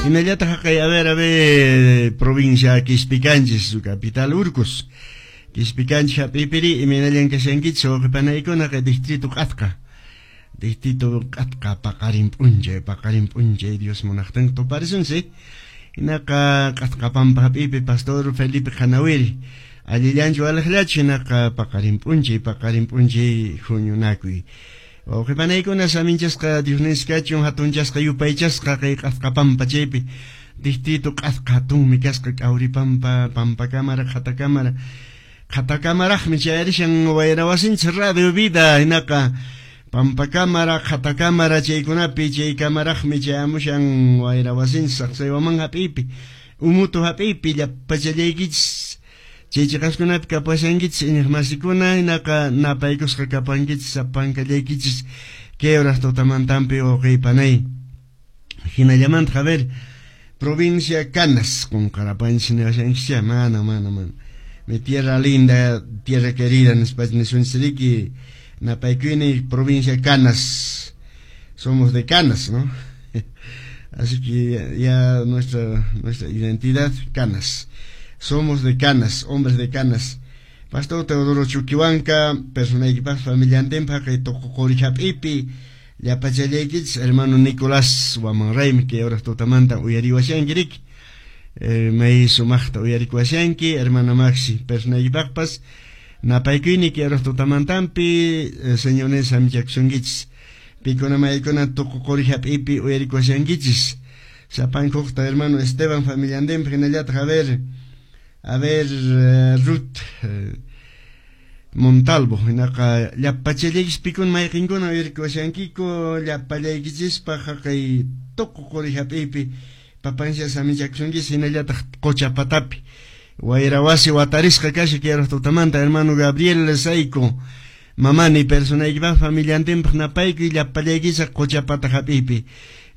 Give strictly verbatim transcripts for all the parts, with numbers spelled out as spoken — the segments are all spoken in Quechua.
Hinallataq haqay, a ver, a ver, provincia Quispicanchis, su capital Urcos. Quispicanchis hap'ipiri, imaynallan kashankichis wawqipanaykuna kay distrito Q'atqa. Distrito Q'atqa paqarin p'unchay, paqarin p'unchay Dios munaqtin tuparisunsi. Hinaqa Q'atqa pampa hap'ipi Pastor Felipe Qanawiri. Allillanchu waliqllachu hinaqa paqarin p'unchay, paqarin p'unchay huñunakuy. Wawqipanaykuna saminchasqa Diosninchis kachun hatunchasqa yupaychasqa kay Q'atqa pampa chaypi. Distrito Q'atqa hatunmi kasqa K'awripampa, Pampa Cámara, Qhata Cámara. Qhata Camaraqmi chayarishan wayra wasinchis Radio Vida hinaqa Pampa Cámara, Qhata Cámara chaykunapi chay kamaraqmi chayamushan wayra wasinchis Saqsaywaman hap'ipi, Umutu hap'ipi llapachallaykichis chay chiqaskunapi kapashankichis iñiqmasikuna hinaqa napaykusqa kapankichis sapankallaykichis kay horas tutamantanpi wawqiypanay. Hinallamanta, a ver, provincia Canas qunqarapanchis niwashankichis mana mana mana mi tierra linda, tierra querida nispa nisunchis napaykuyni provincia Canas, somos de Canas, ¿no? Así que ya nuestra nuestra identidad Canas, somos de Canas, hombres de Canas. Pastor Teodoro Chuquihuanca, personaykipaq familiantinpaq kay Tuqu hap'ipi llapachallaykichis hermano Nicolás Wamanraymi kay horas tutamanta uyariwashanki riki. Eh, may sumaqta uyarikuwashanki hermana Maxi personaykipaqpas napaykuyni kay horas tutamantanpi eh, señores samichakusunkichis pikuna maykuna Tuqu Quri hap'ipi uyarikuwashankichis sapankuqta hermano Esteban familiantinpaq hinallataq a ver a ver uh, Ruth uh, Montalvo hinaqa llapachallaykichis pikuna mayqinkuna uyarikuwashankiku llapallaykichispaq haqay Tuqu Quri hap'ipi papansha samichakusunkichis hinallataq Qucha Patapi wayra wasi watarisqa kasha kay tutamanta hermano Gabriel Saico mamani personaykipaq familiantinpaq napaykuy llapallaykichis Qucha Pata hap'ipi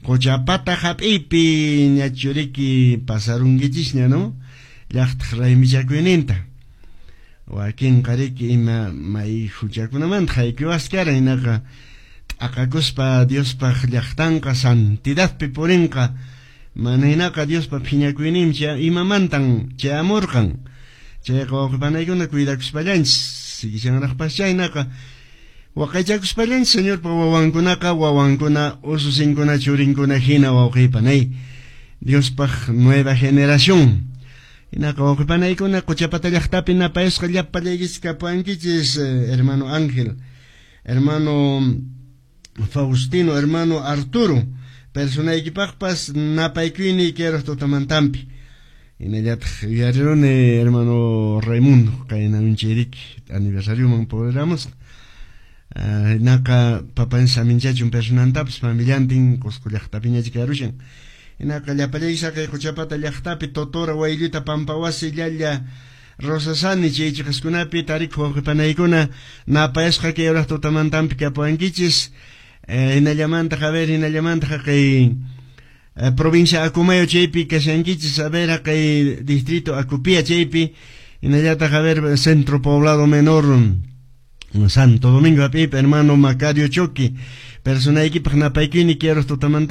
Qucha Pata hap'ipi ñachuriki pasarunkichisña, ¿no? Llaqtaq raymichakuyninta wakinqa riki ima may huchakunamanta haykuwaskaran hinaqa t'aqakuspa Diospaq llaqtanqa santidadpi purinqa mana hinaqa Diospa phiñakuyninmi imamantan chayamurqan chayqa wawqipanaykuna cuidakuspallanchis sigishanraqpas chaynaqa waqaychakuspallanchis Señorpa wawankunaqa wawankuna ususinkuna churinkuna hina wawqipanay Diospaq nueva generación hinaqa wawqipanaykuna Quchapata llaqtapi napayasqa llapallaykichis kapuankichis hermano Ángel, hermano Faustino, hermano Arturo personaykipaqpas napaykuyni kay tutamantanpi hinallataq yuyariruni hermano Raimundo kayna unchayriki aniversarioman puriramos hinaqa papan saminchachun personantapas familiantin Cusco llaqtapiñachi karushan hinaqa llapallayki saqay Quchapata llaqtapi Totora Waylluta Pampawasi Llalla Rosasani chay chiqaskunapi tarikuq wawqipanaykuna napayasqa kay horas tutamantanpi kapuankichis hinallamanta a ver hinallamanta haqay provincia Acomayo chaypi kashankichis a ver haqay distrito Acopia chaypi hinallataq a ver centro poblado menor Santo Domingo hap'ipi hermano Macario Choqui personaykipaq napaykuyni kay horas tutamanta.